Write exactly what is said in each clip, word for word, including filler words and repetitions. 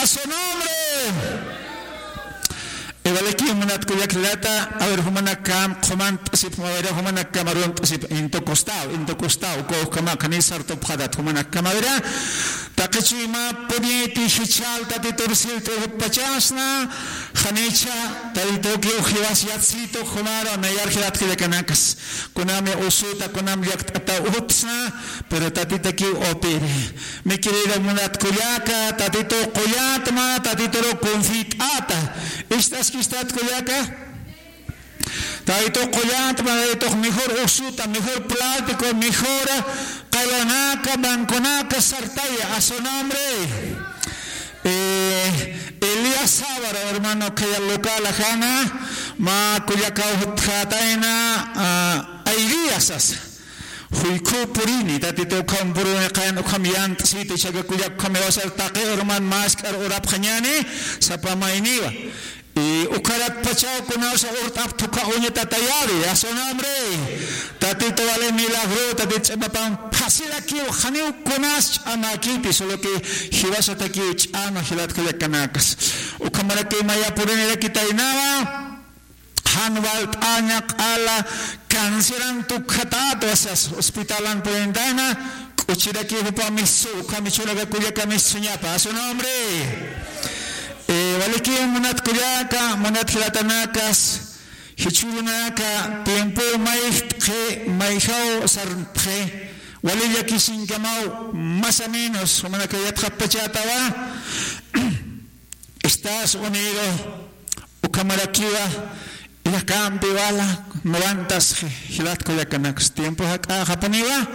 Su nombre. Iwaliki munat kullaka jilata, a ver, jumanakam qhumant'asipxam, a ver, jumanakam arunt'asipxam, into costado, into costado, uka ukhama, jani sartupxatat, jumanakam, a ver, taqi chuyma puniti jichhal Tatitur sirt'apachasna, janicha, Tatitukiw jiwas yatsitu, jumaru, nayar jilat kullakanakas. Kunami usuta, kunami llakt'ata utsna, pero Tatitukiw opiri. Mi querido munat kullaka, Tatitu qullatma, Tatituru confit'ata. Ist'askistat kullaka? Tatitu qullatma, Tatitu mejor usuta, mejor plático, mejor qallunaka, banconaka sartaya, a su nombre. Eh, Elías Sábaro, hermano, khaya local ajana, mä kullakaw jutjatayna, ah, Ailías sasa. Juykhu purini, Tatitu ukham purini, qayan ukham yant'siti, jichhaka kullaka ukham jiwasar taqi hermano mask'ar urapxañäni, sapa mayniwa. Y ukharatpachaw kunawsa urt'apxta uña Tatayari, a su nombre. Tatitu wali milagro, Tatitu ch'amapan fácil akiw, janiw kunas ch'amakiti, solo que jiwasatakiw ch'ama jilat kullakanakas. Ukhamaraki maya purinirakitaynawa, jan walt'aña q'ala canceran tukjatat, o sea, hospitalan purinitayna, k'uchiraki jupa misu, ukham jichhüraka kullaka misuñapa, a su nombre. Eh, waliki munat kullaka, munat jilatanakas, jichhürunaka, tiempo mayjt'xi, mayjaw sart'xi, wali llakisiñkamaw, más o menos, jumanaka yatxapachätawa, Estados Unidos, ukhamarakiwa, llakampi wala, noventas, jilat kullakanakas, tiempo jak'axapuniwa,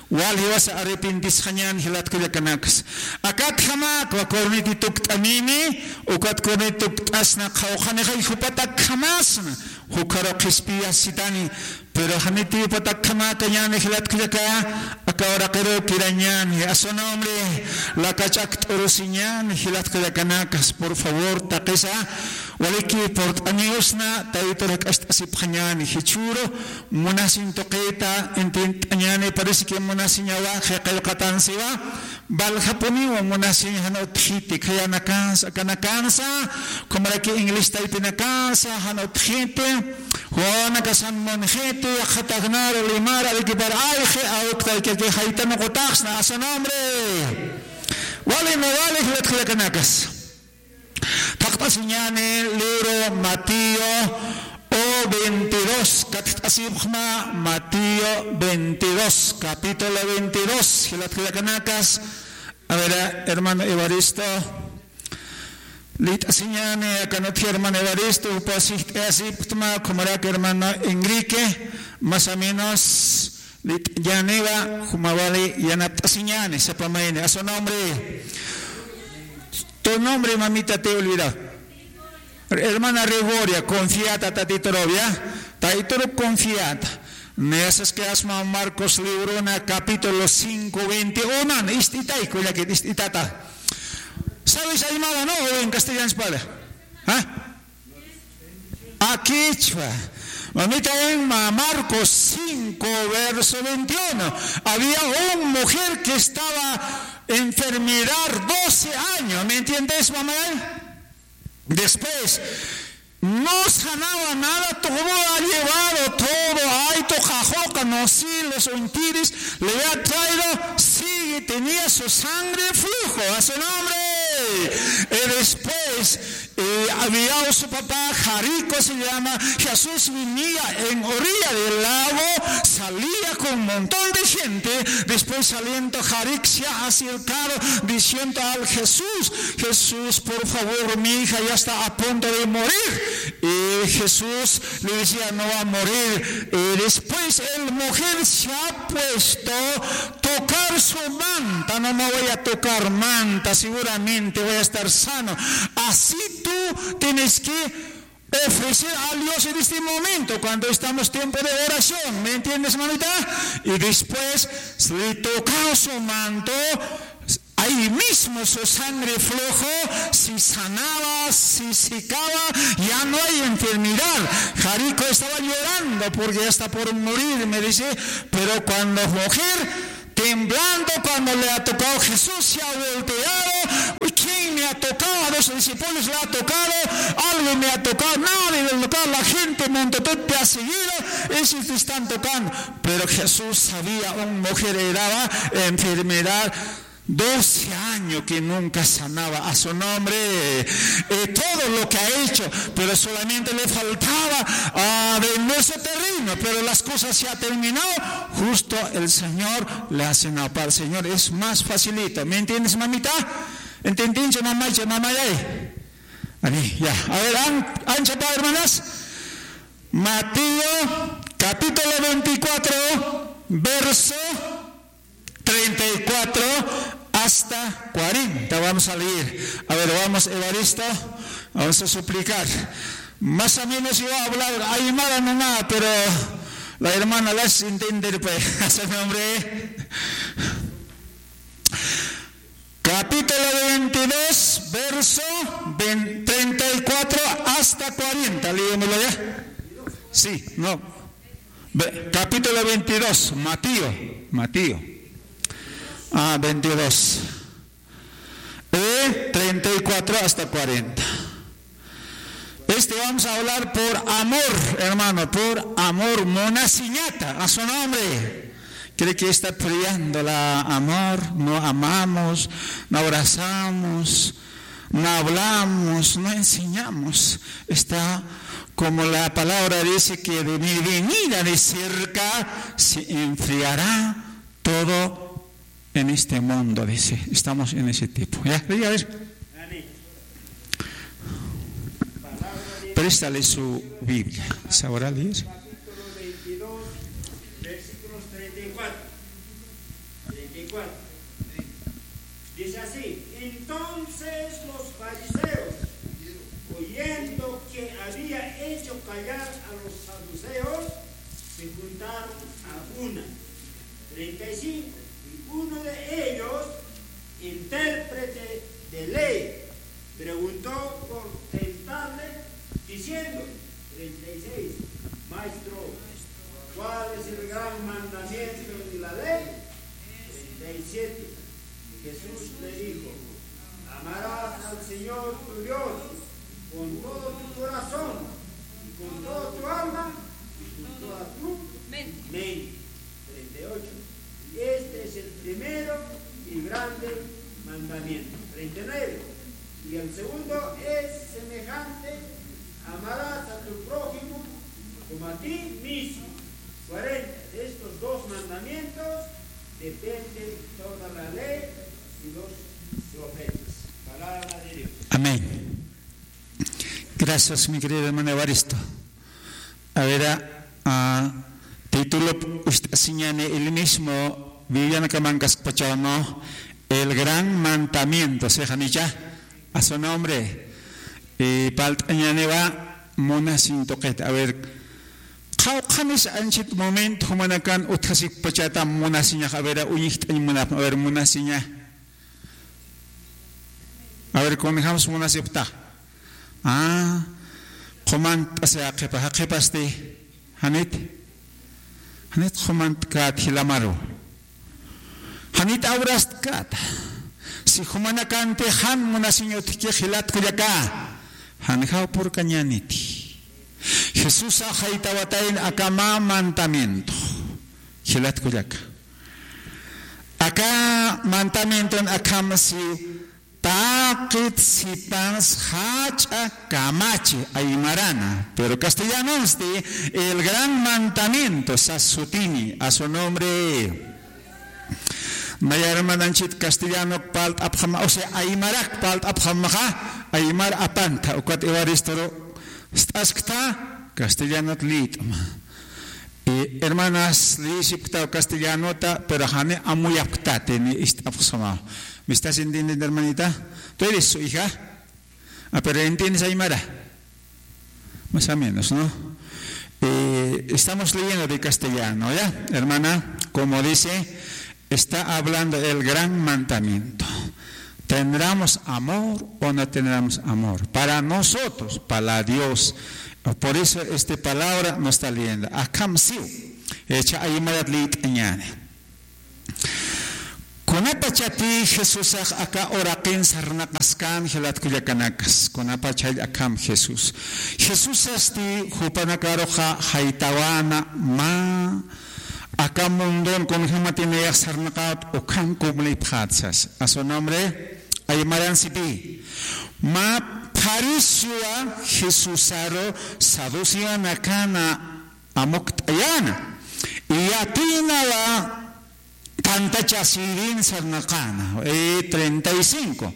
wal jiwasa arrepentisxañän jilat kullakanakas. Akatjamäkwa corneti tukt'anini, ukat corneti tukt'asna qhawqhanixay jupatakjamasna, jukharu qhispiyasitani, pero janiti jupatakjamäkañäni jilat kullaka, aka uraqiru kirañäni, a su nombre, lakach'akt'urusiñäni jilat kullakanakas, por favor, taqisa, waliki purt'aniwsna, Tatitur jak'acht'asipxañäni, jichhüru, munasiñ tuqita, intint'añäni, parece que munasiñawa, qillqatansiwa, Valjapuniwa munasiñ jan utjiti, khayanakansa, akanakansa, ukhamaraki inglés taypinakansa, jan utjiti, wawanakasan munjiti, yaqha taqnar, limar, Arequipar, ayqi, awktayki, jaytan uqutaxsna, a su nombre. Wali, me vale, jilat kullakanakas. Thaqt'asiñäni libro Mateo o veintidós, katjt'asipxma Mateo veintidós, capítulo veintidós, jilat kullakanakas. A ver, hermano Evaristo. Lit'asiñäni, akan utji hermano Evaristo, jupa sijt'ayasipxtma, ukhamarak hermano Enrique, más o menos, Lit'añäniwa, juma wali yanapt'asiñäni, sapa mayni, a su nombre. Tu nombre, mamita, te he olvidado. Hermana Gregoria, confiata, Tatituru, ¿ya? Tatituru confiata. Nayasas que asma Marcos librona, capítulo cinco, veintiuno. Ist'itay, kullakit, ist'itata. ¿Sabes aymara, no? ¿O en castellano se habla? ¿Ah? Akichwa. Mamita, en Ma-, Marcos cinco, verso veintiuno, había una mujer que estaba enfermedad doce años. ¿Me entiendes, mamá? Después, no sanaba nada, todo ha llevado, todo, ay, to jajoca, no, sí, los untiris, le ha traído, sigue, tenía su sangre flujo, a su nombre. Y después, eh, había su papá, Jarico se llama, Jesús venía en orilla del lago, salía con un montón de gente, después saliendo Jarico se ha acercado diciendo al Jesús, Jesús, por favor, mi hija ya está a punto de morir. Y Jesús le decía, no va a morir. Y después el mujer se ha puesto tocar su manta, no me voy a tocar manta, seguramente voy a estar sano. Así tú tienes que ofrecer a Dios en este momento, cuando estamos tiempo de oración, ¿me entiendes, mamita? Y después le toca su manto, ahí mismo su sangre flujo, se sanaba, se secaba, ya no hay enfermedad. Jarico estaba llorando porque ya está por morir, me dice, pero cuando mujer temblando, cuando le ha tocado Jesús, se ha volteado. ¿Quién me ha tocado? discípulos le ha tocado, alguien me ha tocado, nadie me ha tocado, la gente montotut me ha seguido, ellos están tocando. Pero Jesús sabía, un mujer herida, enfermedad, doce años que nunca sanaba a su nombre, eh, todo lo que ha hecho, pero solamente le faltaba, ah, vender su terreno, pero las cosas se ha terminado, justo el Señor le ha sanado. Para el Señor es más facilito. ¿Me entiendes, mamita? ¿Entiendes, mamá, mamá? Ahí. Ahí, ya. A ver, an-, ancha pa, hermanas. Mateo, capítulo veinticuatro, verso treinta y cuatro hasta cuarenta. Vamos a leer. A ver, vamos, Evaristo. Vamos a suplicar. Más o menos yo voy a hablar aymara nomás, pero la hermana las entiende, pues, a su nombre. Capítulo veintidós, verso veinte, treinta y cuatro hasta cuarenta. Léemelo ya. Sí, no. Ve, capítulo veintidós, Mateo, Mateo. Ah, veintidós. Eh, treinta y cuatro hasta cuarenta. Este, vamos a hablar por amor, hermano, por amor, munasiñata, a su nombre. Cree que está peleando la amor, no amamos, no abrazamos, no hablamos, no enseñamos. Está como la palabra dice que de mi venida de cerca se enfriará todo en este mundo, dice. Estamos en ese tiempo. ¿Ya? Diga, a ver. Préstale su Biblia. ¿Sabrá leer? Capítulo veintidós, versículos treinta y cuatro. Treinta y cuatro. Dice así: Entonces los fariseos, oyendo que había hecho callar a los saduceos, se juntaron a una. Treinta y cinco. Y uno de ellos, intérprete de ley, preguntó por tentarle, diciendo: Treinta y seis. Maestro, ¿cuál es el gran mandamiento en la ley? Treinta y siete. Jesús le dijo: Amarás al Señor tu Dios con todo tu corazón, y con toda tu alma, y con toda tu mente. Treinta y ocho. Y este es el primero y grande mandamiento. Treinta y nueve. Y el segundo es semejante: amarás a tu prójimo como a ti mismo. Cuarenta. De estos dos mandamientos depende toda la ley y los profetas. Palabra de Dios. Amén. Gracias, mi querido hermano Evaristo. A ver, a, a, título, usted señale el mismo, Viviana Camancas Pachano, el gran mandamiento, ¿sí, Janicha? A su nombre. Y palt'añäniwa munasiñ tuqit. A ver, qhawqhanis anchit momento jumanakan utjasipkpachätam munasiñax. A ver, uñjt'añ munapxam. A ver, munasiña. A ver, kunjams munasipxta. Ah, qhumant'asi jaqhipa, jaqhipasti. Janit. Janit qhumant'kät jilamaru. Janit abrastkäta. Si jumanakanti jan munasiñ utjkix jilat kullaka, janjaw purkañäniti. Jesusa jaytawatayna aka mä mandamiento. Jilat kullaka. Aka mandamienton akham siw: Taqit sipas jach'a kamachi, aymarana. Pero castellanonsti, el gran mandamiento, sas sutini, a su nombre. Naya hermananchit castellanok palt'apxama, o sea, aymarak palt'apxamaxa, aymar apantha, ukat Evaristoru st'askta, castellanot lït'ma. Y hermanas, liyisipktaw castellanota, pero jani amuyapktati, ni ist'apxsamaw. ¿Me estás entendiendo, hermanita? ¿Tú eres su hija? Ah, pero entiendes aymara. Más o menos, ¿no? Eh, estamos leyendo de castellano, ¿ya? Hermana, como dice, está hablando el gran mandamiento. ¿Tendremos amor o no tendremos amor? Para nosotros, para Dios. Por eso esta palabra nos está leyendo. Akham siw. Echa aymarat lït'añäni. Kuna Kunapachati Jesusax aka uraqin sarnaqaskän jilat kullakanakas, kunapachall akham Jesús. Jesusasti jupanakaruxa jaytawana mä aka mundon kunjämatinayax sarnaqawt ukham cumplipxät sas. A su nombre, ay maransipi. Mä fariseowa Jesusaru saduceonakäna amukt'ayäna. Yatiynawa tantachasïrin sarnaqäna. Eh, treinta y cinco.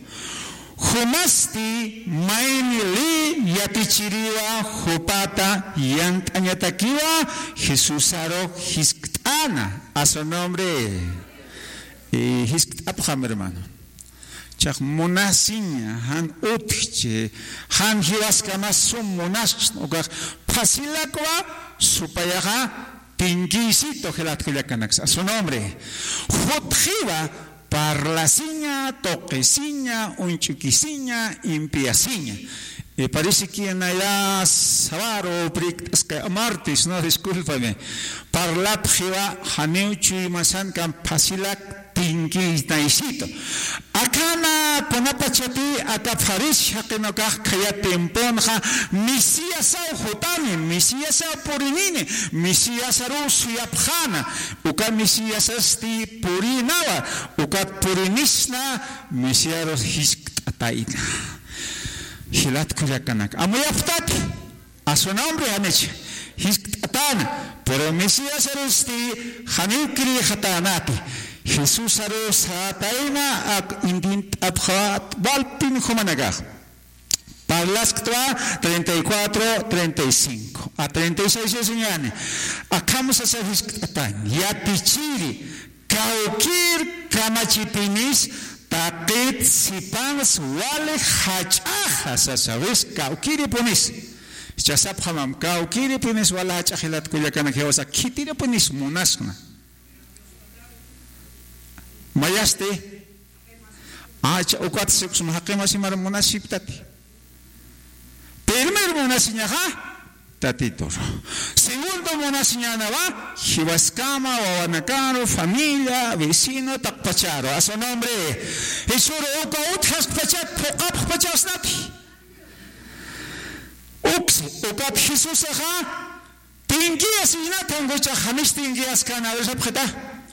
Jumasti mayni ley yatichiriwa jupata yant'añatakiwa Jesusaru jiskt'äna. A su nombre. Eh, jiskt'apxam, hermano. Chax munasiña, jan utjchi, jan jiwaskamas sum munasksna, ukax phasilakwa supayaxa tinkiysitu jilat kullakanaksa. A su nombre. Jutxiwa parlasiña, tuqisiña, uñch'ukisiña, impiyasiña. Eh, parece que naya sábado, prikt'askay, martes, no, discúlpame. Parlapxiwa janiw chuymasankam phasilak tinkiynaysitu. Akhana kunapachati aka fariseo jaqinukax khaya tiemponxa Mesiasaw jutani, Mesiasaw purinini, Mesiasaruw suyapxäna, uka Mesiasasti purïnawa, ukat purinisna Mesiarus jiskt'atayna. Jilat kullakanak. Amuyapxtati. A su nombre, janich jiskt'atäna, pero Mesiasarusti janiw creexatänati. Jesusaru sätayna ak intint'apxät walpin jumanakax. Parlaskta treinta y cuatro, treinta y cinco. A treinta y seis es ñani. Akham sasa jiskt'atäñ. Yatichiri, kawkïr kamachipinis taqit sipans wali jach'axa sasawis, kawkïripunis. Jichha sapxamam, kawkïripunis wali jach'ax jilat kullakanak jiwasa, khitiripunis munasna. Mayasti, acha ukat siksma jaqi masimar munasiptati. Primer munasiñaxa, Tatituru. Segundo munasiñänawa, jiwaskama, wawanakaru, familia, vecino, taqpacharu. A su nombre. Jichhüru uka utjaskpachat, phuqhapxpachasnati. Uksi, ukat Jesusaxa, tinkiyasiñnat, jankuchax janich tinkiyaskäna, a ver, sapxita.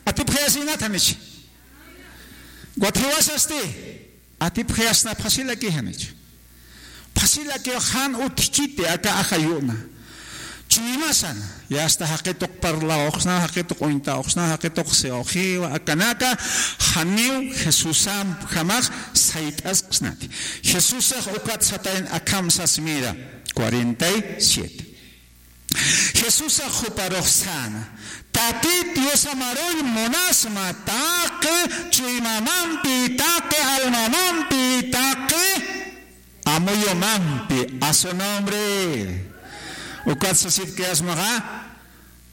Atipxayasiñnat, janich. Ukat jiwasasti. Atipxayasna, phasilaki janich. Phasilaki jan utjkiti aka ajayuna. Chuymasana, yasta jaqituq parlawxsna, jaqituq uñtawxsna, jaqituq siwxiwa, akanaka janiw Jesusamjamax sayt'asksnati. Jesusax ukat satayn akham sas mira, cuarenta y siete. Jesusax juparux säna, Tatit Diosamaruy munasma taqi chuymamampi, taqi almamampi, taqi amuyumampi, a su nombre. Ukat sasipkayasmaxa,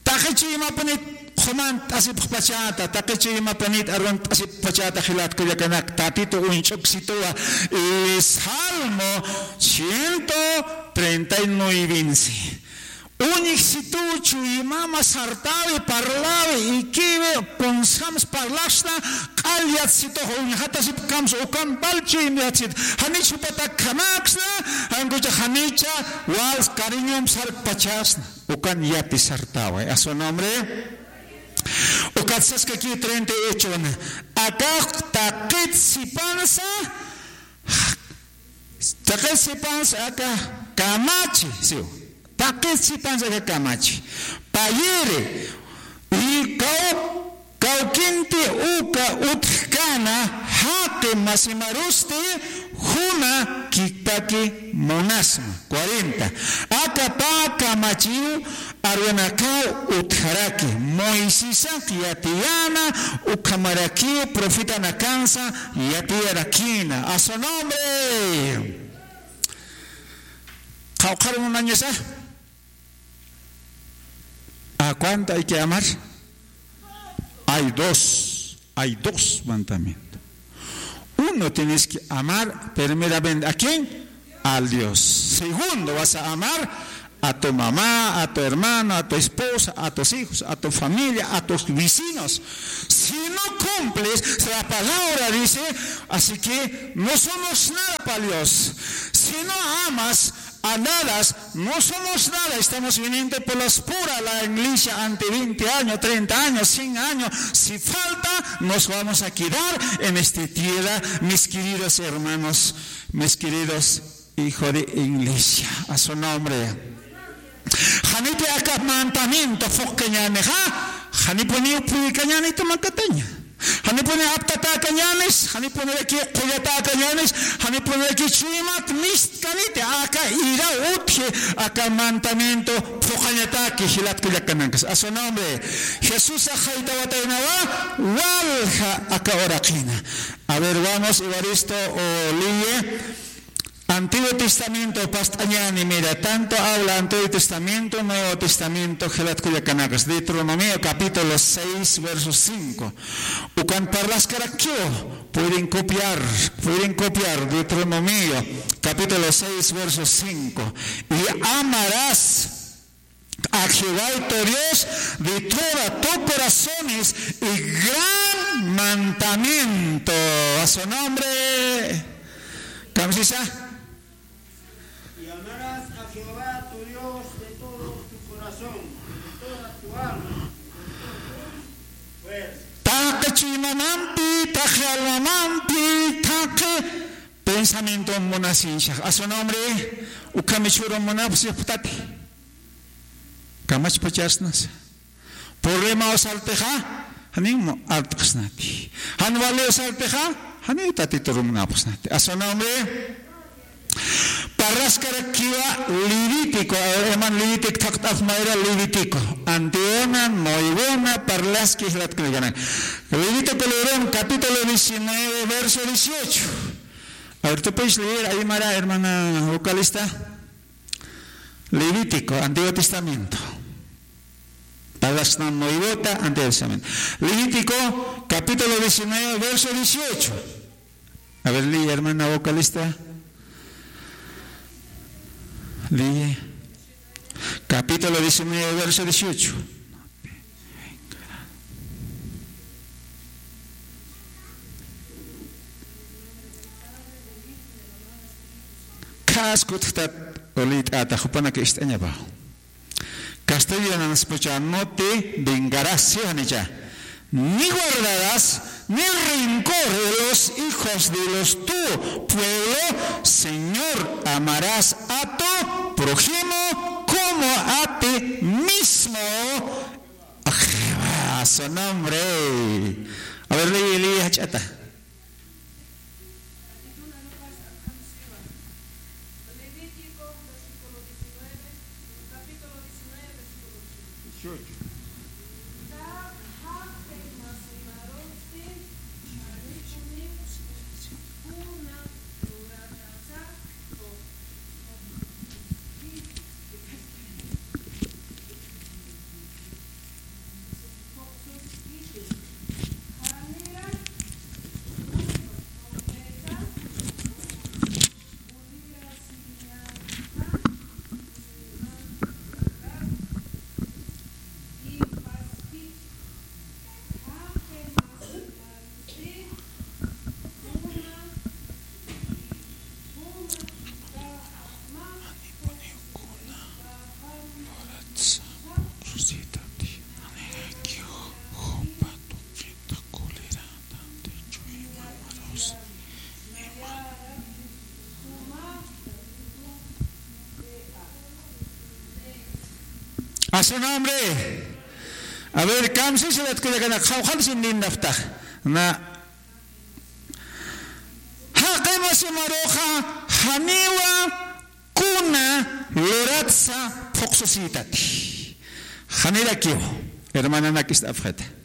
taqi chuymapunit qhumant'asipxpachäta, taqi chuymapunit arunt'asipxpachäta jilat kullakanak, Tatitu uñch'uksituwa, y Salmo ciento treinta y nueve. Uñjsituw chuymama sartäwi, parläwi, ikiwi, kunsjams parlaxsna, q'al yatsitux uñjatasipkams ukan pal chuym yatsit. Janich jupatak khamäksna, jankuchax janicha wals cariñum sarkpachasna. Ukan yati sartäwi. A su nombre. Ukat saskaki treinta y ocho na. Akax taqit sipansa, taqit sipansa aka kamachi, siw. Taqit sipansa aka kamachi. Payiri, y kaw-, kawkinti uka utjkäna jaqi masimarusti juna kikpaki munasma. Cuarenta. Aka pä kamachiw arunakaw utjaraki, Moisesak yatiyäna ukhamarakiw profetanakansa yatiyarakïna. A su nombre. Qhawqhar munañasa. ¿A cuánto hay que amar? Hay dos, hay dos mandamientos. Uno, tienes que amar primeramente ¿a quién? Al Dios. Segundo, vas a amar a tu mamá, a tu hermano, a tu esposa, a tus hijos, a tu familia, a tus vecinos. Si no cumples, la palabra dice, así que no somos nada para Dios. Si no amas a nada, no somos nada. Estamos viniendo por las puras la iglesia ante veinte años, treinta años, cien años. Si falta, nos vamos a quedar en esta tierra, mis queridos hermanos, mis queridos hijos de iglesia. A su nombre. Janiti aka mandamiento phuqkañänixa, janipuniw phuykañäni tumakataña. Janipuni aptatäkañänis, janipuniraki qullatäkañänis, janipuniraki chuymat mistkaniti aka ira utji aka mandamiento phuqañataki jilat kullakanankas. A su nombre. Jesús ajaytawataynawa, walja aka uraqina. A ver, vamos, Evaristo, o Liye. Antiguo Testamento past'añäni, mira, tanto habla Antiguo Testamento, Nuevo Testamento, jilat kullakanakas. Deuteronomio capítulo seis, verso cinco. Ukan parlaskarakiw, pueden copiar, pueden copiar, Deuteronomio capítulo seis, verso cinco. Y amarás a Jehová tu Dios de todo tu corazón es el gran mandamiento. A su nombre. Kamsisa. Y amarás a Jehová tu Dios de todo tu corazón, de toda tu alma, con todo tu fuerza. Taqi chuymamampi, taqi almamampi, taqi pensamiento munasiñsa. A su nombre, ukham jichhüru munapxi phuqtati. Kamachpacharsnasa. Problema usartixa, janiw art'xsnati. Jan wali usartixa, janiw Tatitur munapxsnati. A su nombre. Parlaskarakiwa Levítico, a ver, hermano, Levítico, thaqt'af mayra Levítico. Antiguona, Nuevona, parlaski jilat kullakanaka. Levítico libron, capítulo diecinueve, verso dieciocho. A ver, ¿tú puedes leer ahí, Mara, hermana vocalista? Levítico, Antiguo Testamento. Palabras no muy vota, Antiguo Testamento. Levítico, capítulo diecinueve, verso dieciocho. A ver, lee, hermana vocalista. Lee. Capítulo diecinueve, verso dieciocho. Khas kutjtat ulit'ata jupanaka ist'añapa. Castellano spucha, no te vengarás, ¿sí o no? Ni guardarás ni rencor de los hijos de los tu pueblo, Señor, amarás a tu prójimo como a ti mismo. Ajá, su nombre. A ver, lee, lee, jach'ata. Levítico, versículo diecinueve, capítulo diecinueve, versículo dieciocho. A su nombre. A ver, kamsisa jilat kullakanaka, qawqhatisin lindapxta. Na, jaqi masi maruxa, janiwa kuna luratsa phuqsusïtati. Janirakiw, hermananak ist'apxita.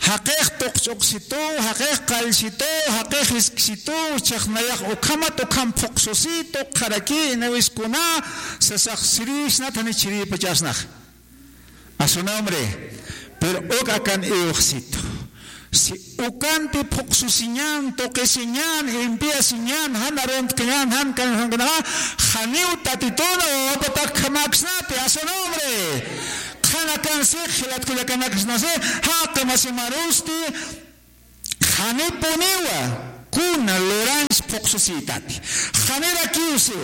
Jaqix tuqch'uqsitu, jaqix qallsitu, jaqix jisksitu, chhax nayax ukhamat ukham phuqsusitu, qharaki, inawis kuna, sasax sirïsnat, jani chhirïpachasnax. A su nombre. Pero uk akan iwxsitu. Si ukanti phuqsusiñan, tuqisiñan, impiyasiñan, jan aruntkañan, jan kan, jan kanaxa, janiw tatituna wawapatak jamaksnati, a su nombre. Qhanakansi, jilat kullakanakasnasi, jaqi masimarusti, janipuniwa kuna lurañs phuqsusïtati. Janirakiwsi,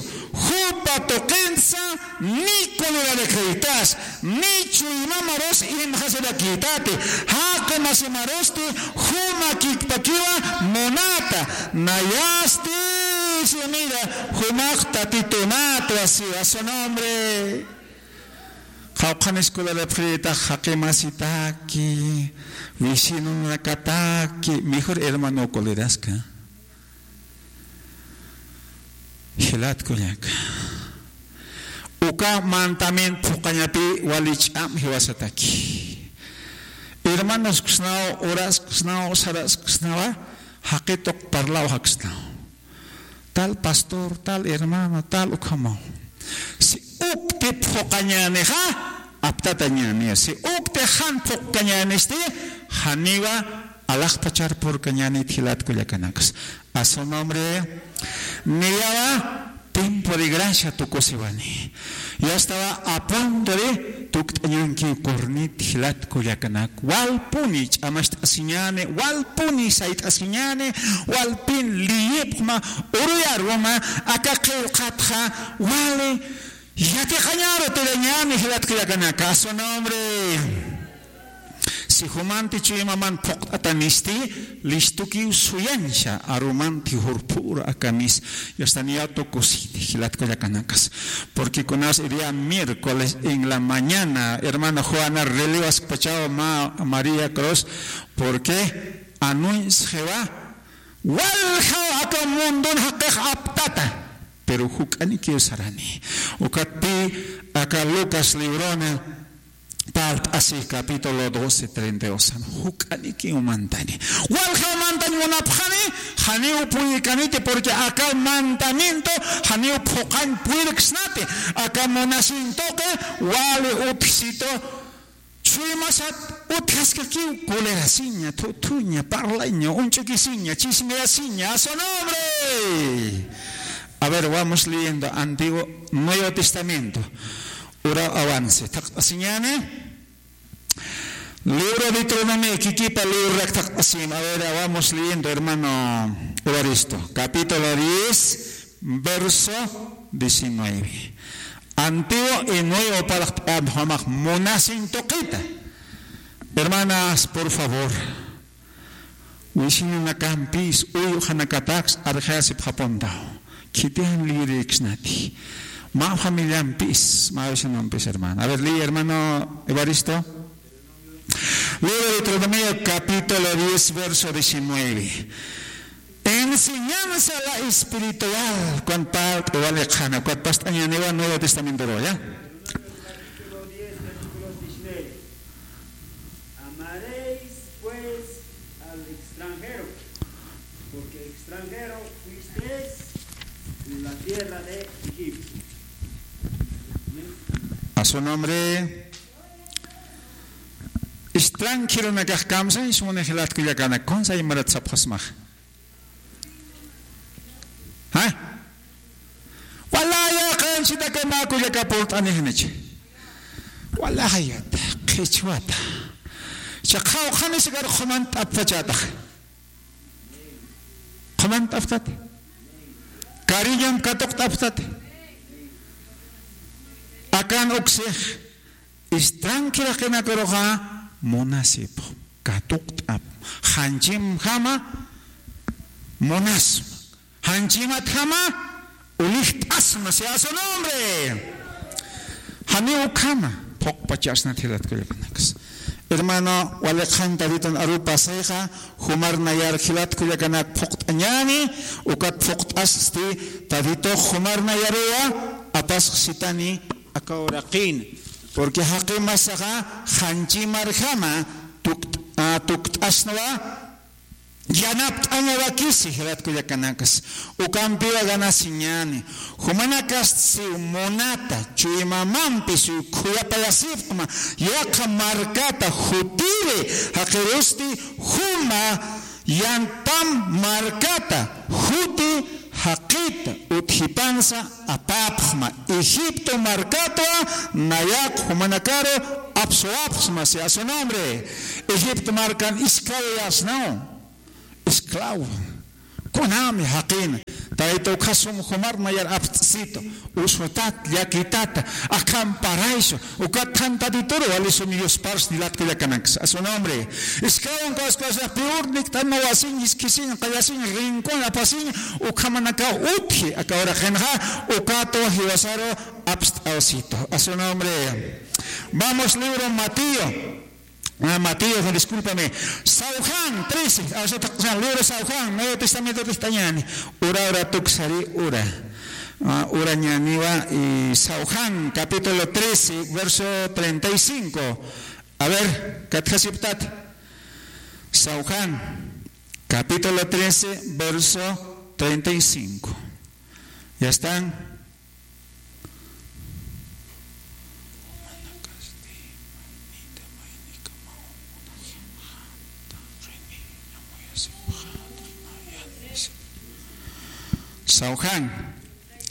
jupa tuqinsa, ni kulirarikaytas, ni chuymamarus imxasirakïtati, jaqi masimarusti, juma kikpakiwa munata, nayasti, si mira, jumax tatitunatwa, si a su nombre. Qawqhanis kularapxirïtax jaqi masitaki, vecinonakataki, mejor hermano kuliraska. Jilat kullaka. Uka mandamiento phuqañapi wali ch'am jiwasataki. Hermanosksnaw, urasksnaw, sarasksnawa, jaqituq parlaw jaksnaw. Tal pastor, tal hermano, tal ukhamaw. Si ukti phuqañänixa, aptatañäni. Si ukti jan phuqkañänisti, janiwa alaxpachar purkañänit jilat kullakanakas. A su nombre, niyawa tiempo de gracia tukusiwani. Ya estaba a punto de tukt'añanki kurnit jilat kullakanak. Walpuni ch'amacht'asiñäni, walpuni sayt'asiñäni, walpin liyipxma, uruyaruma, aka qillqatxa, wali, yatiqañaru tirañäni jilat kullakanaka, a su nombre. Si jumanti chuymaman phuqt'atanisti, listukiw suyañsa, arumanti jurphur akamis, yastaniya tukusiti, jilat kullakanakas. Porque kunas el día miércoles en la mañana, hermana Juana, relewaskpachaw ma María Cruz, porque anunsxiwa, waljaw aka mundun jaqix aptata, pero juk'anikiw sarani. Ukatpi aka Lucas librona, Parlt'asi capítulo doce, treinta y dos. Juk'anikiw mantani. Waljaw mantañ munapxani, janiw puyirkaniti, porque aka mandamiento janiw phuqañ puyirksnati. Aka munasin tuqi wali utjsitu chuymasat utjaskakiw, colerasiña, thuthuña, parlaña, uñch'ukisiña, chismeasiña, a su nombre. A ver, vamos leyendo Antiguo, Nuevo Testamento. Uraw avance. Thaqt'asiñäni. Libro Deuteronomio, kikipa librorak thaqt'asima. A ver, vamos leyendo, hermano Evaristo. Capítulo diez, verso diecinueve. Antiguo y Nuevo Testamento, munasin tuqita. Hermanas, por favor. Wisinanakampis, uywxanakataks arxayasipxapuntaw. Khitijan liyiriksnati. Mä familiampis, mä vecinompis, hermano. A ver, lee, hermano Evaristo. Libro de Deuteronomio, capítulo diez, verso diecinueve. Enseñanza la espiritual, cuando parte, wali qhana, cuando past'añäniwa Nuevo Testamento, ¿ya? Amaréis, pues, al extranjero, porque extranjero fuisteis en la tierra de Egipto. A su nombre. Extranjeronakax kamsañ suni jilat kullakanaka, kunsa imarat sapxasmax. ¿Ha? Walaya qanchitaka mä kullaka purt'anixnichi. Walaya qhichwata. Cha qhawqhanis kar qhumant'apxachätax. Qhumant'apxtati. Cariñom katuqt'apxtati. Akan uksix. Extranjeraqinakaruxa munasipxam, katuqt'apxam, janchimjama munasma, janchimatjama ulijt'asma, sea su nombre. Janiw ukhama phuqpachasnat jilat kullakanakas. Hermano, wali qhan Tatitan aru pasayxa, jumar nayar jilat kullakanak phuqt'añäni, ukat phuqt'asti Tatitux jumar nayaruwa apasxsitani aka uraqin. Porque jaqi masaxa janchimarjama tukt-, a, tukt'asnwa, yanapt'añawakisi jilat kullakanakas. Ukampiwa ganasiñäni. Jumanakasti siw munata, chuymamampi siw khuyapayasipxma, yaqha markata jutir Jaqirusti juma yantam markata juti jaqita utjipansa apapxma, Egipto markatwa nayax jumanakaru apsuwapxsma, sea su nombre. Egipto markan esclavayasnaw. Esclavo. Kunami jaqina. Tayta ukhasum jumar nayar apst'situ. Usutat, llakitata, akham paraysu. Ukat thantatitur walisum yuspars jilat kullakanakas. A su nombre. Esclavon kawskawasa piur nikt'anma wasiñ, iskisiñ, qayasiñ, rincón apasiñ, ukhamanaka utji, aka uraqinxa, ukatwa jiwasaru apst'awsitu. A su nombre. Vamos, libro Mateo. Ah, Mateo, discúlpame. San Juan trece, ah, o sea, San, libro San Juan, Nuevo Testamento, testañani. Ura, ura, tuksari, ura. Ah, urañaniwa, y San Juan, capítulo trece, verso treinta y cinco. A ver, ¿katjasiptat? San Juan, capítulo trece, verso treinta y cinco. ¿Ya están? San Juan,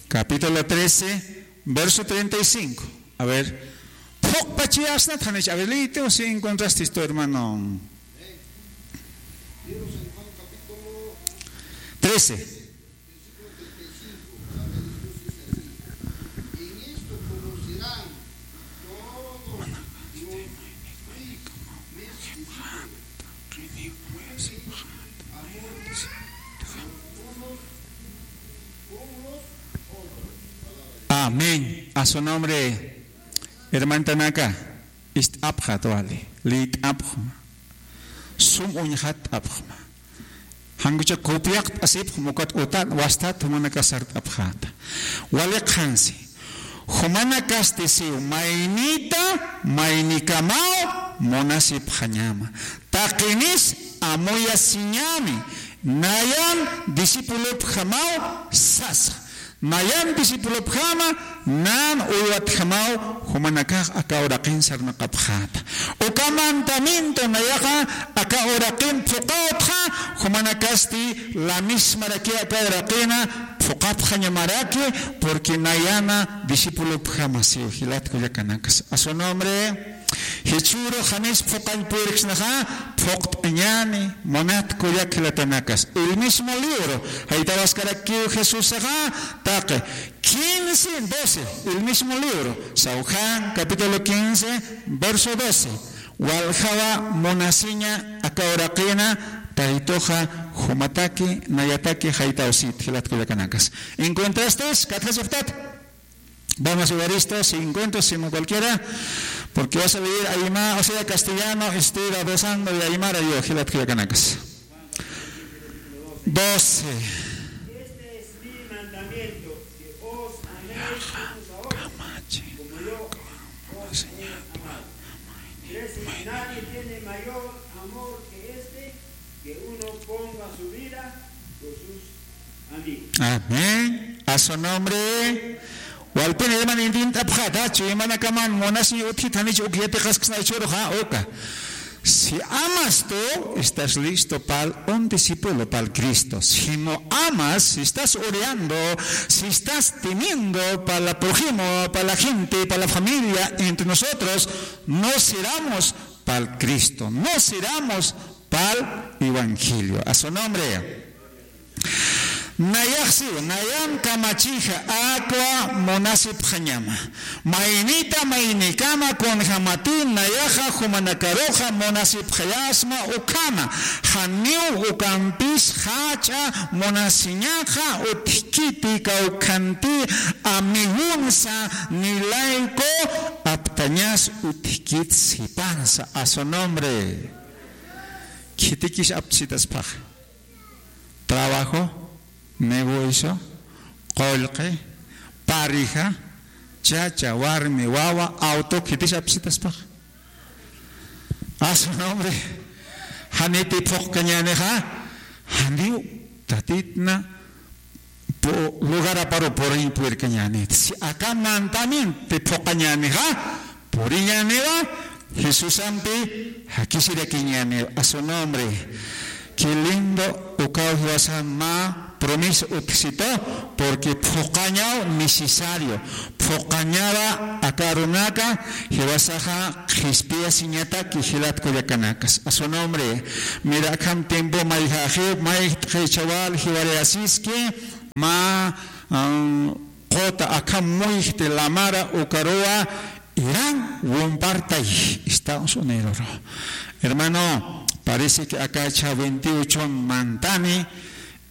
capítulo trece, verso treinta y cinco. A ver, phuqpachiyasnat, janicha. A ver, léete, o si encontraste esto, hermano. Trece. Amén. A su nombre, hermantanaka, ist'apxat wali, liyt'apxma, sum uñxatt'apxma. Jankucha copiaqt'asipxma ukat utan wastat jumanaka sart'apxäta. Wali qhansi. Jumanakasti siw maynita maynikamaw munasipxañama. Taqinis amuyasiñäni. Nayan discipulopjamaw sasa. Nayan discipulopjama, nan uywatjamaw, jumanakax aka uraqin sarnaqapxäta. Uka mandamiento nayaxa aka uraqin phuqawtxa, jumanakasti la mismaraki aka uraqina phuqapxañamaraki, porque nayana discipulopjama siw jilat kullakanakas. A su nombre. Jichhüru janis phuqañ puyirksnaxa, phuqt'añäni, munat kullak jilatanakas. El mismo libro, jaytawaskaraki Jesusaxa, taqi quince, doce, el mismo libro, San Juan, capítulo quince, verso doce. Waljawa munasiña aka uraqina, taytuxa jumataki, nayataki, jaytawsit, jilat kullakanakas. ¿Encontrastes? ¿Katjasiptat? Vamos a ver esto, si encuentro, si no cualquiera, porque vas a leer aymara, o sea, castellano, este, adosando de aymara, yo, jilat kullakanakas. Doce. Este es mi mandamiento, que os améis unos a otros, como yo os he amado. Trece. Nadie tiene mayor amor que este, que uno ponga su vida por sus amén. A su nombre. Walpin hermano intint'apxäta, chuymanakaman munasiñ utjit janich uk yatiqasksna jichhüruxa, uka. Si amas tú, estás listo para un discípulo, para Cristo. Si no amas, si estás odiando, si estás temiendo para la prójimo, para la gente, para la familia, entre nosotros, no seremos para Cristo, no seremos para evangelio. A su nombre. Nayax siw, nayan kamachixa, akwa munasipxañama. Maynita maynikama kunjamati nayaxa jumanakaruxa munasipxayasma ukhama. Janiw ukampis jach'a munasiñaxa utjkiti kawkhanti amigunsa nilayku aptañas utjkit sipansa. A su nombre. Khitikis aptasitaspaxa. Trabajo, negocio, qullqi, pareja, chacha, warmi, wawa, auto, khitis apsitaspaxa. A su nombre. Janiti phuqkañänixa, janiw tatitna pu-, lugaraparu puriñ puyirkañänit. Si aka mandamiento phuqañänixa, puriñäniwa, Jesusampi jakisirakiñäni, a su nombre. Qué lindo ukaw jiwasan mä promesa utjsitu, porque phuqañaw necesario. Phuqañawa aka arunaka jiwasaxa qhispiyasiñataki jilat kullakanakas. A su nombre. Mira, akham tiempo mayjaxiw, mayjt'xichawal jiwarayasiski, mä, ah, quta akham muyjti lamara ukaruwa Irán wumpartay Estados Unidos. Hermano, parece que aka cha veintiocho mantani,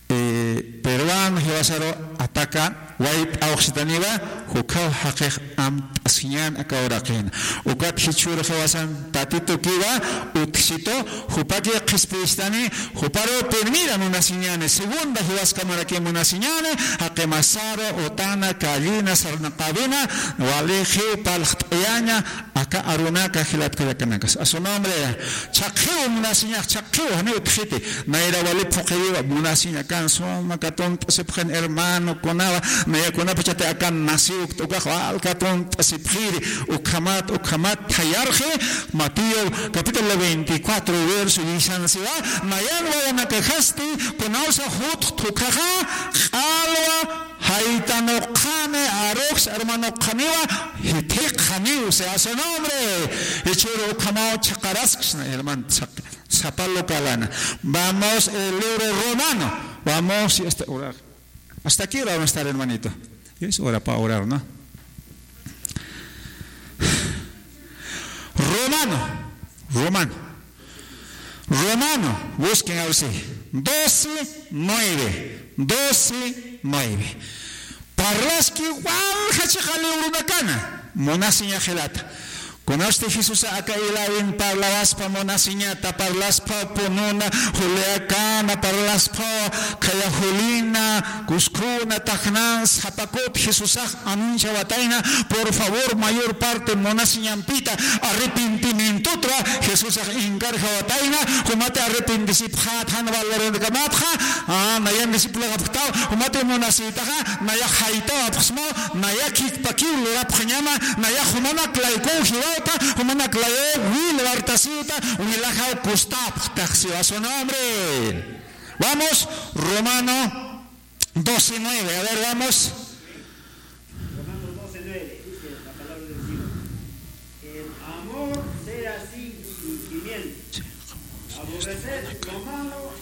eh, peruano jiwasaru ataka wayt'awxsitaniwa, jukhaw jaqix amt'asiñän aka uraqina. Ukat jichhür jiwasan Tatitukiwa utjsitu, jupaki qhispistani, juparu primera munasiñäni, segunda jiwaskamarakiw munasiñäni, jaqimasaru, utana, kallina, sarnaqawina, walixiw parlt'ayaña, aka arunaka jilat kullakanakas. A su nombre, chhaqhiw munasiñax, chhaqhiw, janiw utjxiti, nayra wali phuqiriwa, munasiñakan suma katunt'asipxin hermano kunawa, naya kunapachati akan naciw ukax wal katunt'asipxiri, ukhamat, ukhamat, thayarxi, Mateo capítulo veinticuatro, verso diez siwa, nayan wawanakajasti, kunawsa jutx thukhaxa, q'alwa, jaytanuqxani, aruxs hermanoqxaniwa, jithiqxaniw, sea su nombre. Jichhüru ukhamaw chhaqarasksna, hermano, sapa localana. Vamos, el libro Romano. Vamos, y hasta orar. ¿Hasta qué hora vamos a estar, hermanito? Es hora para orar, ¿no? Romano, Romano, Romano, busquen a ver si. Doce nueve, doce nueve. Parlaski walja chiqa librunakana, munasiña jilata. Kunasti Jesusa aka ilawin parlawaspa munasiñata, parlaspa pununa, juliakana, parlaspa khaya julina, kuskhuna, taxnan, sapa kut Jesusax anunciawatayna, por favor, mayor parte munasiñampita arrepentimientotra Jesusax encargawatayna, jumati arrepentisipxät jan valorunakamatxa, ah, nayan discipulakapxtaw, jumati munasïtaxa, nayax jaytawapxsmaw, nayax khikpakiw lurapxañama, nayax jumanak laykuw jiwawta, jumanak layuw wil wartasïwta, wilajaw kustapxtaxsiwa su nombre. Vamos, Romano doce nueve. A ver, vamos. Romano doce nueve, dice la palabra del Señor: "El amor sea sin fingimiento. Aborreced lo malo,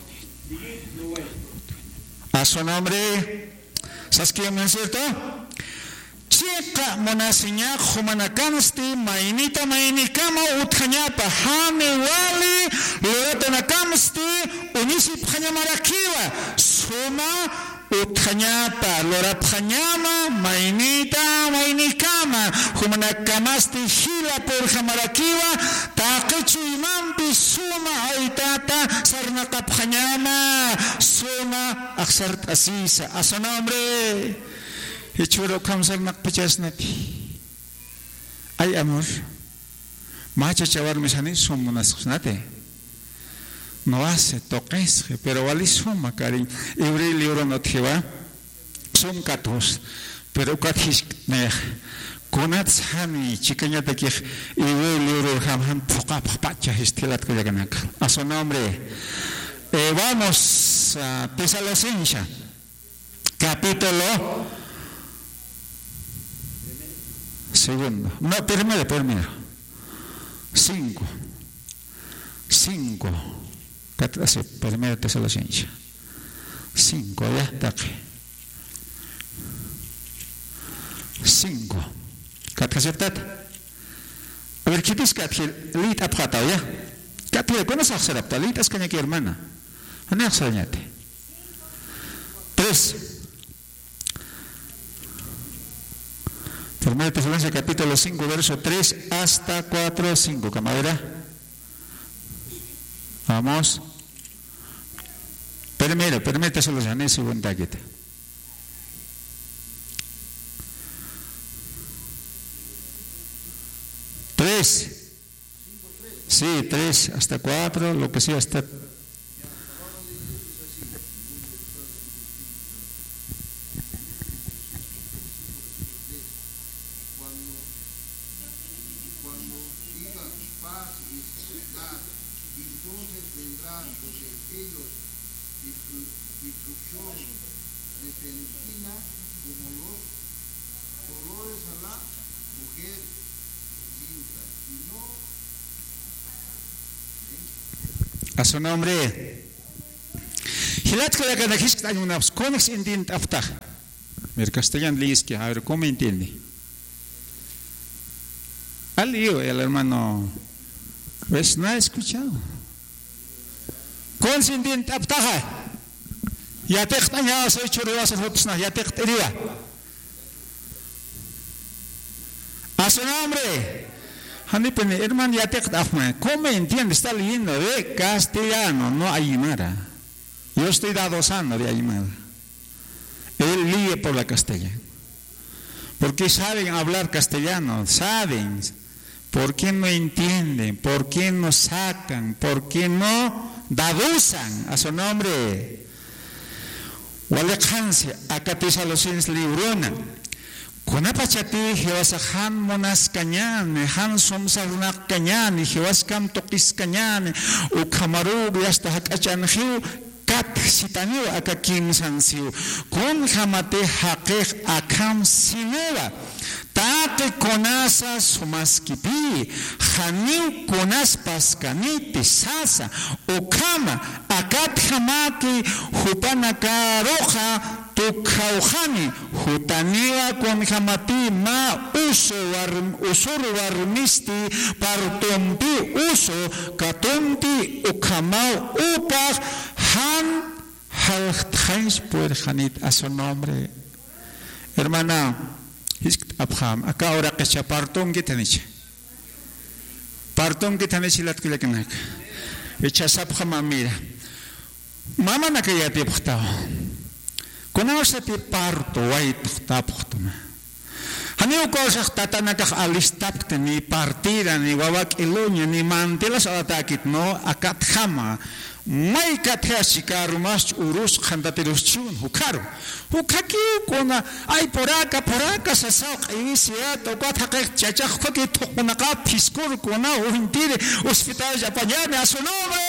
seguid lo bueno". A su nombre. ¿Sabes qué, no es cierto? Chiqa munasiñax jumanakansti maynita maynikama utjañapa, jani wali luratanakamsti uñisipxañamarakiwa, suma utjañapa, lurapxañama maynita maynikama, jumanakamasti jila purjamarakiwa, taqi chuymampi suma aytata sarnaqapxañama, suma axsart'asisa, a su nombre. Jichhüru ukham sarnaqpachasnati. Ay, amor. Mä chacha warmis jani sum munasxsnati. No hace, tuqisxi, pero wali suma cariño. Iwri libron utjiwa. Sum katjus. Pero ukat jisk'tnix. Kunats jani chikañatakix iwri libro jam jan phuqapxpacha jilat kullakanaka. A su nombre. Eh, vamos a Tesalonicense. Capítulo segundo. No, primero, primero. Cinco. Cinco. Kat-, así, primero Tesalonicense. Cinco, ya, taqi. Cinco. Kat aceptat. A ver, ¿qué dice kat? Lït'apxätaw, ya. Kat, ¿kuna axsarapxta? Lït'askañaki, hermana. Jani axsarañati. Tres. Primera Tesalonicenses capítulo cinco, verso tres hasta cuatro, cinco. Camarada. Vamos. Primero, primera Tesalonicenses, segunda quita. Tres. Sí, tres hasta cuatro, lo que sea, hasta Entonces ellos, destru-, destrucción repentina como los dolores a la mujer viuda, y no. A su nombre. Jilat kullakanaka, jisk'añ munapxta, kunjs intint'apxtaxa. Mira, castellano leyes que, a ver, ¿cómo entiende? Al lío, el hermano, pues no ha escuchado. Kunjs intint'apxtaxa. Yatiqt'añawa, soy churiwa, soy jutsna, yatiqt'iriwa. A su nombre. Janipuni, hermano, yatiqt'apxma. ¿Cómo entiende? Está leyendo de castellano, no aymara. Yo estoy dado sano de aymara. Él lee por la castellano. Porque saben hablar castellano, saben. ¿Por qué no entienden? ¿Por qué no sacan? ¿Por qué no dadusan a su nombre? Waliqansi, aka Tesalonicenses librona. Kunapachati Jehovasax jan munaskañäni, jan sumsarnaqkañäni, Jehovaskham tuqiskañäni, ukhamaruw yasta jak'achanxiw, katjsitaniw aka kimsansiw. Kunjamati jaqix akham siniwa. Taqi kunasa sumaskipï, janiw kunas paskaniti sasa, ukhama, akatjamaki jupanakaruxa tukjawxani, jutaniwa kunjamati mä usu warm-, usur warmisti partumpi usu katumti ukhamaw upax jan jaljtxañs purirxanit a su nombre. Hermana, jiskt'apxam, aka uraqix partunkitanicha. Partunkitanicha jilat kullakanaka. Icha sapxama, mira. Mamanaka yatipxtawa. Kunawsati parto waytxtapxtuna. Janiw kawsax tatanakax alistapkti ni partera, ni wawa k'iluña, ni mantelas alatäkit, no, akatjama. May katjasi, karumas urus qhantatirus chiwn, jukharu. Jukhakiw kuna, ay, puraka, puraka, sasaw q'iwisiyat, ukat jaqix chachax, jukhakiw thuqunaqap phiskur kuna, uwintiri, hospital apañani, a su nombre.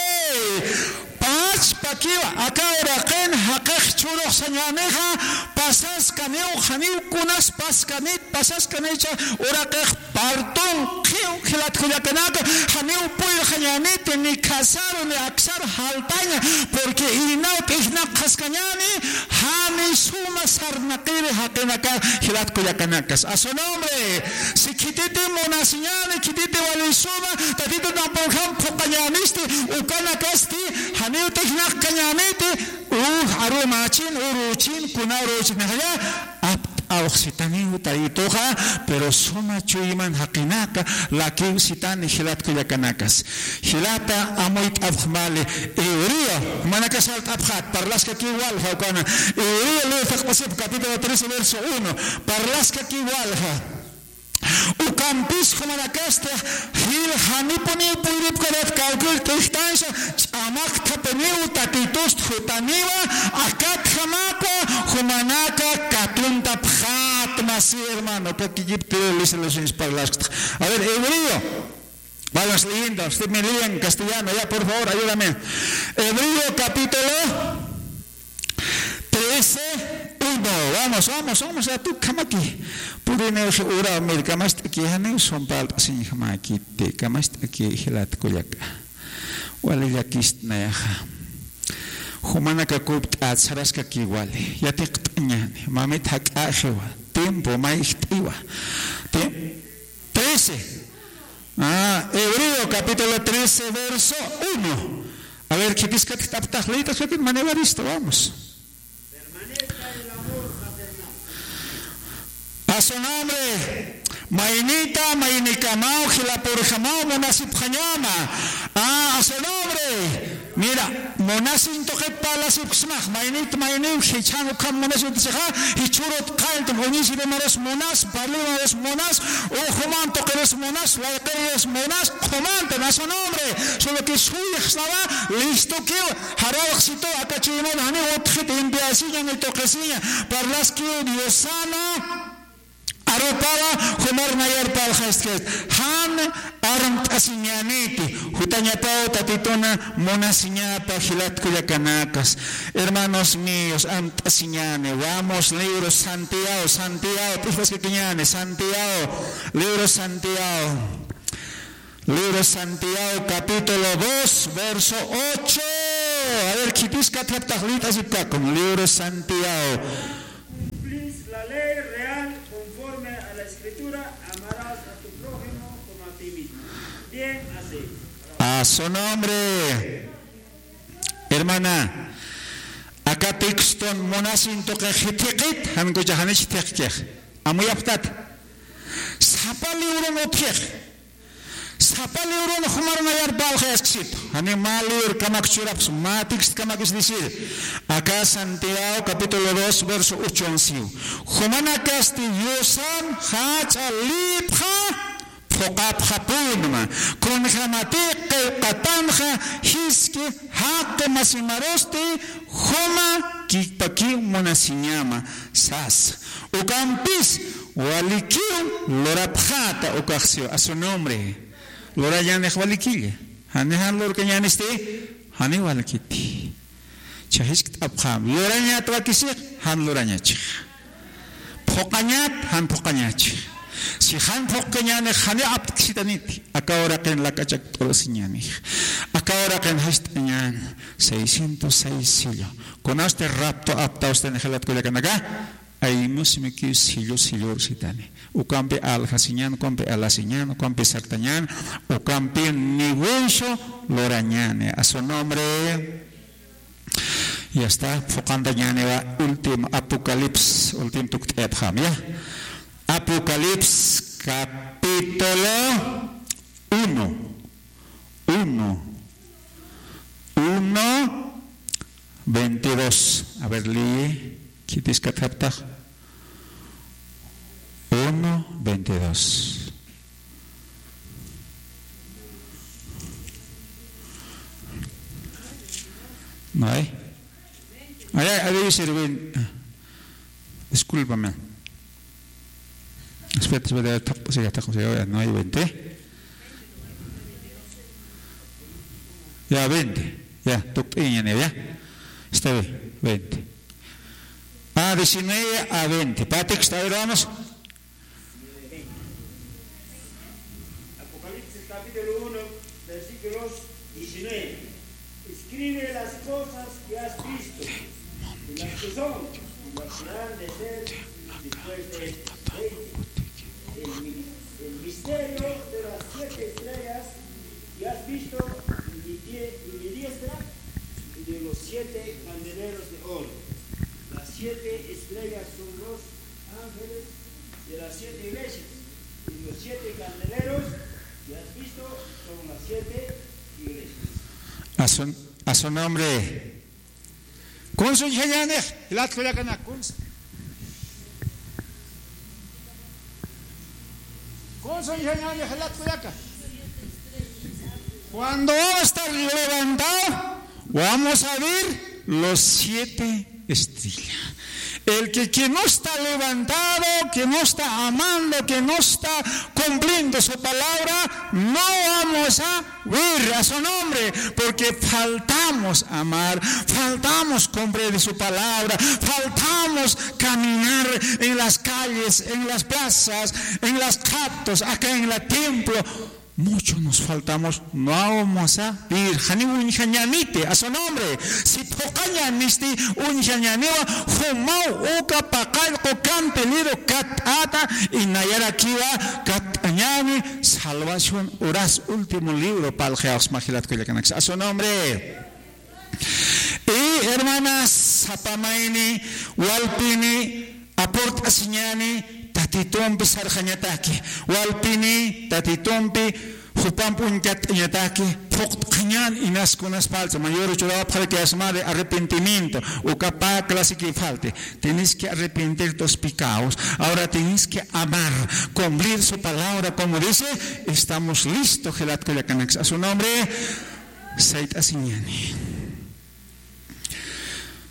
Pachpakiwa, aka uraqin jaqix churux sañänixa, pasaskaniw, janiw kunas paskanit, pasaskanicha uraqix partunkiw jilat kullakanaka, janiw purirxañäniti, ni casar, ni aksar jaltaña, porque inaw t'ijnaqxaskañäni, jani suma sarnaqiri jaqinaka jilat kullakanakas. A su nombre, si khititi munasiñäni, khititi wali suma, Tatitunampun jam phuqañänisti, ukanakasti, janiw t'ijnaqkañäniti, uj, arumächin, uruchin, kuna uruchin, jaya, apt'awxsitaniw Tayituxa, pero suma chuyman jaqinaka, lakiw sitani jilat kullakanakas. Jilata amuyt'apxmali, Hebreo, manaka sart'apxat, parlaskakiw walja ukana, Hebreo ley taqpasip capítulo trece, verso uno, parlaskakiw walja. Ukampis jumanakasti jil janipuniw puyripkarat kawkir t'ijtansa ch'amaktapiniw Tatitust jutaniwa akatjamakwa jumanaka katuntapxät masi hermano, kakikip tiro lisalasinsi parlaskta. A ver, Hebreo. Vamos leyendo, usted me lee en castellano, ya, por favor, ayúdame. Hebreo capítulo trece, uno. Vamos, vamos, vamos, a tu kamaki. Puriniw ura, mir, kamast'aki, janiw sumpalt'asiñjamäkiti, kamast'aki, jilat kullaka. Wali llakist'ayaxa. Jumanaka kupt'at saraskaki wali. Yatiqt'añäni, mamit jak'axiwa. Tiempo mayjt'iwa. Te-, trece. Ah, Hebreo capítulo trece, verso uno. A ver, khitis katjt'apxtax, leyt'apxtax, manera listo, vamos. A su nombre, maynita, maynikamaw, jilapurjamaw, munasipxañama. Ah, a su nombre. Mira, munasin tuqit parlasipxsmax, maynit mayniw jichhan ukham munasin tuqit, jichhürut qalltum, uñisirimarus munas, parlimarus munas, ujuman tuqirus munas, layqirus munas, qhumantan a su nombre, solo que suyxsnawa, listokiw, jarawxsitu, aka chuyman janiw utjit, enviasiña, ni tuqisiña, parlaskiw Diosana, Arupawa jumar nayar parlxastkasti. Jan armt'asiñäniti. Jutañapaw Tatitun munasiñapa jilat kullakanakas. Hermanos míos, armt'asiñäni. Vamos, libro Santiago, Santiago, p'ijpaskakiñäni, Santiago, libro Santiago. Libro Santiago, capítulo dos, verso ocho. A ver, khitis katxaptax lït'asipkakun. Libro Santiago. Cumplís la ley real conforme a la Escritura, amarás a tu prójimo como a ti mismo. Bien así. A su nombre. Hermana, aka texton munasin tuqix jithiqit, jan kucha janich jithiqkix. Amuyapxtat. Sapa libron utjix. Sapa libron jumar nayar parlxi asksitu. Jani mä librokamak churapxsma, mä textokamak es decir, aka Santiago capítulo dos, verso ochon siw. Jumanakasti Diosan jach'a lïpxa phuqapxapunma. Kunjämatix qillqatanxa jiski jaqi masimarusti jumakipakiw munasiñama sasa. Ukampis walikiw lurapxäta ukax siw, a su nombre. Lurañänix walikilla. Jani jan lurkañänisti, jani walikiti. Jisk't'apxam. Lurañät wakisix, jan lurañachix. Phuqañät, jan phuqañachix. Si jan phuqkañänix, jani aptksitaniti. Aka uraqin lak'achak t'urasiñänix. Aka uraqin jist'añän. Seiscientos seis sello. Kunasti rapto aptawstani jilat kullakanaka. Aymusmikiw sillu sillursitani. Ukampi aljasiñän, ukampi alasiñän, ukampi sartañän, ukampi negocio lurañäni. A su nombre. Ya está, phuqantañäniwa último Apocalipsis, último tukt'ayapxam, ya. Apocalipsis capítulo uno. Uno. Uno, veintidós. A ver, lee. Khitis katxaptax. Uno, veintidós. No hay. Ay, ay, ay, debe ser veinte. Discúlpame. Espera, espera, taq-, siga, taq-, siga, no hay veinte. Ya, veinte. Ya, tukt'ayañäni, ya. Está bien, veinte. Ah, diecinueve a veinte. Para texto, a ver, vamos. Apocalipsis capítulo uno, versículos diecinueve. Escribe las cosas que has visto, y las que son, y las que han de ser después de esto. Veinte. El mi-, el misterio de las siete estrellas que has visto en mi die-, en mi diestra, y de los siete candeleros de oro. Las siete estrellas son los ángeles de las siete iglesias, y los siete candeleros que has visto son las siete iglesias. A su, a su nombre. Kunsa uñjañänix, jilat kullakanak, kunsa. Kunsa uñjañänix, jilat kullaka. Cuando vamos a estar levantados, vamos a ver los siete estrellas. El que, que no está levantado, que no está amando, que no está cumpliendo su palabra, no vamos a ver a su nombre, porque faltamos amar, faltamos cumplir su palabra, faltamos caminar en las calles, en las plazas, en las catos, acá en la templo. Mucho nos faltamos, no vamos a vivir. Janiw uñjañäniti, a su nombre. Si phuqañänisti, uñjañäniwa, jumaw uka paqallqu kantilïru katt'ata, y nayarakiwa katt'añäni, salvación uras último libro parlxi awsma jilat kullakanaks. A su nombre. Y hermanas, sapa mayni, walpini, apurt'asiñäni, Tatitumpi sarxañataki, walpini, Tatitumpi, jupamp uñkatt'añataki, phuqt'xañän inas kunas parlt'sa, mayor churawapxarakiyasmari arrepentimiento, uka pä clasikiw falti, tienes que arrepentir tus pecados, ahora tienes que amar, cumplir su palabra, como dice, estamos listos, jilat kullakanaks, a su nombre, sayt'asiñäni.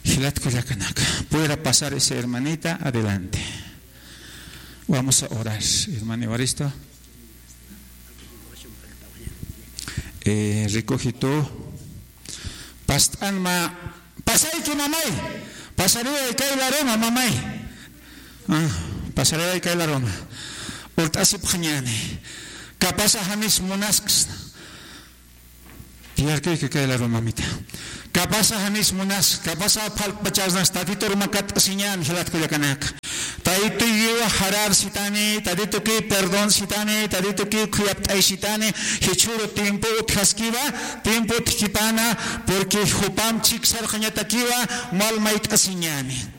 Jilat kullakanaka. Pudiera pasar esa hermanita adelante. Vamos a orar, hermano Evaristo. Eh, recoge tú. Past'an mä, pasayki, mamay. Pasariway kay laruma, mamay. Ah, pasariway kay laruma. Urt'asipxañäni. Capaz janis munasksna. Tiyarkayki kay laruma, mamita. Capaz janis munas, capaz phalt'pachasnas, Tatitur makat'asiñäni, jilat kullakanaka. Taytuykiwa jararsitani, Tatituki perdonsitani, Tatituki khuyapt'aysitani, jichhüru tiempo utjaskiwa, tiempo utjkipana, porque jupamp chiksarxañatakiwa, mal mayt'asiñäni.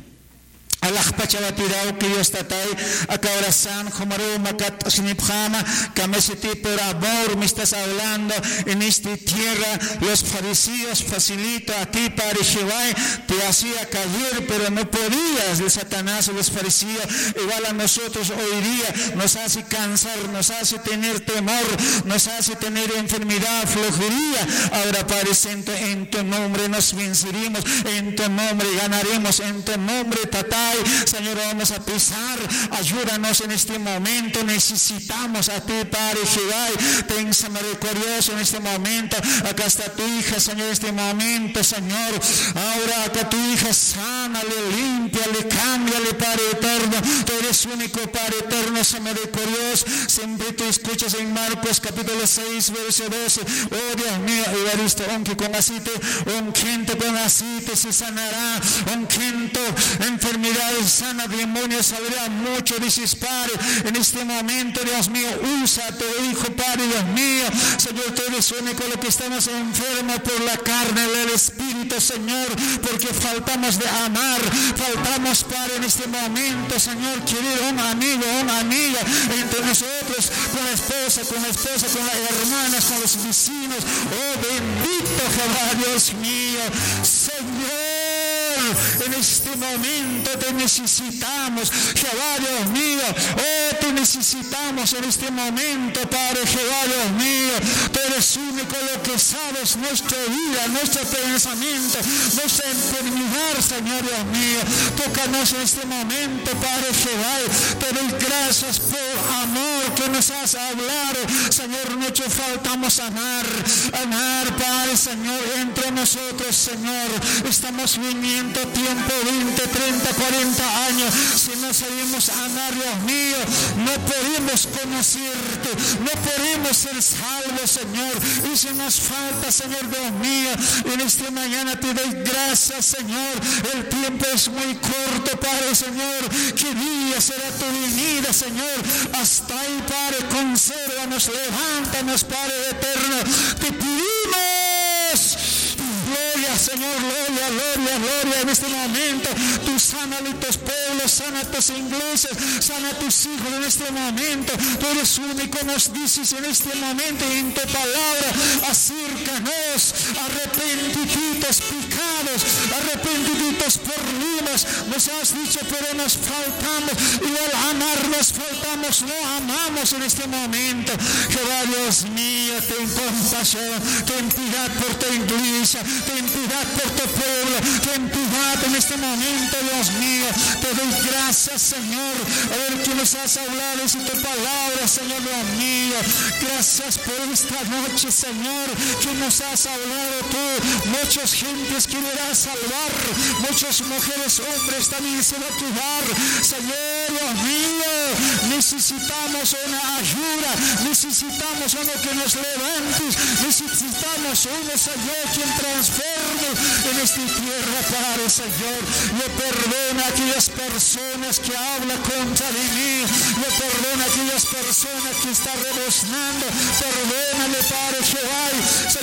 Alaxpachawatiraw, queridos Tatay, aka oración jumaruw makat'asinipxäma, camiseti por amor me estás hablando en esta tierra, los fariseos facilito a ti, Padre Jehová, te hacía caer, pero no podías, el Satanás, los fariseos, igual a nosotros hoy día, nos hace cansar, nos hace tener temor, nos hace tener enfermedad, flojería. Ahora, Padre Santo, en tu nombre nos venceremos, en tu nombre ganaremos, en tu nombre, Tatay, Señor, vamos a pisar. Ayúdanos en este momento, necesitamos a ti, Padre Jehová. Ten misericordioso en este momento. Acá está tu hija, Señor, en este momento, Señor. Ahora acá tu hija, sánale, límpiale, cámbiale, Padre eterno. Tú eres único, Padre eterno, Señor misericordioso. Siempre tú escuchas en Marcos capítulo seis, verso doce. Oh Dios mío, Evaristo, unge con aceite, ungiendo con aceite, se sanará, ungiendo enfermedades, sana demonios, saldrá mucho, dices, Padre. En este momento, Dios mío, usa a tu hijo, Padre, Dios mío. Señor, tú eres único, lo que estamos enfermos por la carne, el espíritu, Señor, porque faltamos de amar, faltamos, Padre, en este momento, Señor, querer un amigo, una amiga entre nosotros, con la esposa, con la esposa, con las hermanas, con los vecinos. Oh, bendito Jehová, Dios mío, Señor, en este momento te necesitamos, Jehová, Dios mío, oh, te necesitamos en este momento, Padre Jehová, Dios mío, tú eres único, lo que sabes nuestra vida, nuestro pensamiento, nuestra enfermedad, Señor Dios mío. Tócanos en este momento, Padre Jehová. Te doy gracias por amor que nos has hablado. Señor, mucho faltamos amar, amar, Padre, Señor, entre nosotros, Señor. Estamos viniendo tiempo, veinte, treinta, cuarenta años. Si no sabemos amar, Dios mío, no podemos conocerte, no podemos ser salvos, Señor. Y si nos falta, Señor Dios mío, en esta mañana te doy gracias, Señor. El tiempo es muy corto, Padre, Señor. ¿Qué día será tu venida, Señor? Hasta ahí, Padre, consérvanos, levántanos, Padre eterno. Te pedimos. Gloria, Señor, gloria, gloria, gloria. En este momento, tú sana a tus pueblos, sana a tus iglesias, sana a tus hijos en este momento. Tú eres único, nos dices en este momento, en tu palabra, acércanos, arrepentititos pecados, arrepentititos problemas. Nos has dicho, pero nos faltamos, igual amar nos faltamos, no amamos en este momento. Jehová Dios mío, ten compasión, ten piedad por tu iglesia, ten piedad por tu pueblo, ten piedad en este momento, Dios mío. Te doy gracias, Señor, a ver que nos has hablado en tu palabra, Señor Dios mío. Gracias por esta noche, Señor, que nos has hablado tú. Muchas gentes querrá salvar, muchas mujeres, hombres también se va a quedar. Señor Dios mío, necesitamos una ayuda, necesitamos uno que nos levante, necesitamos uno, Señor, quien transforme en esta tierra, Padre, Señor. Yo perdona a aquellas personas que hablan contra de mí, yo perdona a aquellas personas que están rebuznando, perdóname, Padre Jehová, Señor.